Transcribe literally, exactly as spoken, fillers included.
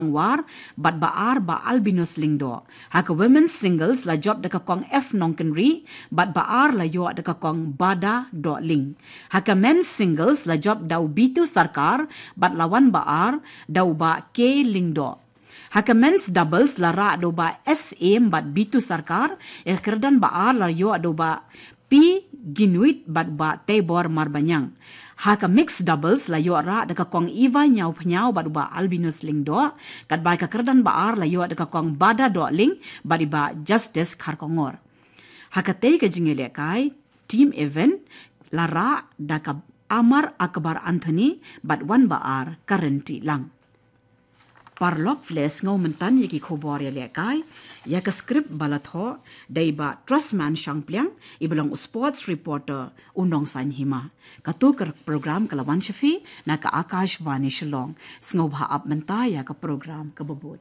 War, bad ba ar ba Albinus Lyngdoh. Ha ka women's singles la jop da ka kong F Nongkynrih, bad ba ar la ïoh da ka kong Bada Dohling. Ha ka men's singles la jop da u Bitu Sarkar, bad la wan ba ar da u Bah K Lyngdoh. Ha ka men's doubles la rah da u Bah S M bad Bitu Sarkar, ïa ka kyrdan ba ar la ïoh da u Bah P Ginuit bad u Bah Teibor Marbaniang. Ha ka mixed doubles la ïoh rah da ka kong Eva Ñiawphniaw bad u Bah Albinus Lyngdoh, katba ïa ka kyrdan ba ar la ïoh da ka kong Bada Dohling bad i Bah Justice Kharkongor. Ha katei ka jingïalehkai team event la rah da ka Amar Akbar Anthony bad wan ba ar ka Rynti Lang. Paralok, phi la sngew mynta ïa ki khubor ïalehkai, ïa ka script ba la thoh da i Bah Trustman Shangpliang, i ba long u sports reporter u Nongsaiñ Hima. Kato ka program ka la wan sha phi na ka Akashvani Shillong. Sngewbha ap mynta ïa ka program kaba bud.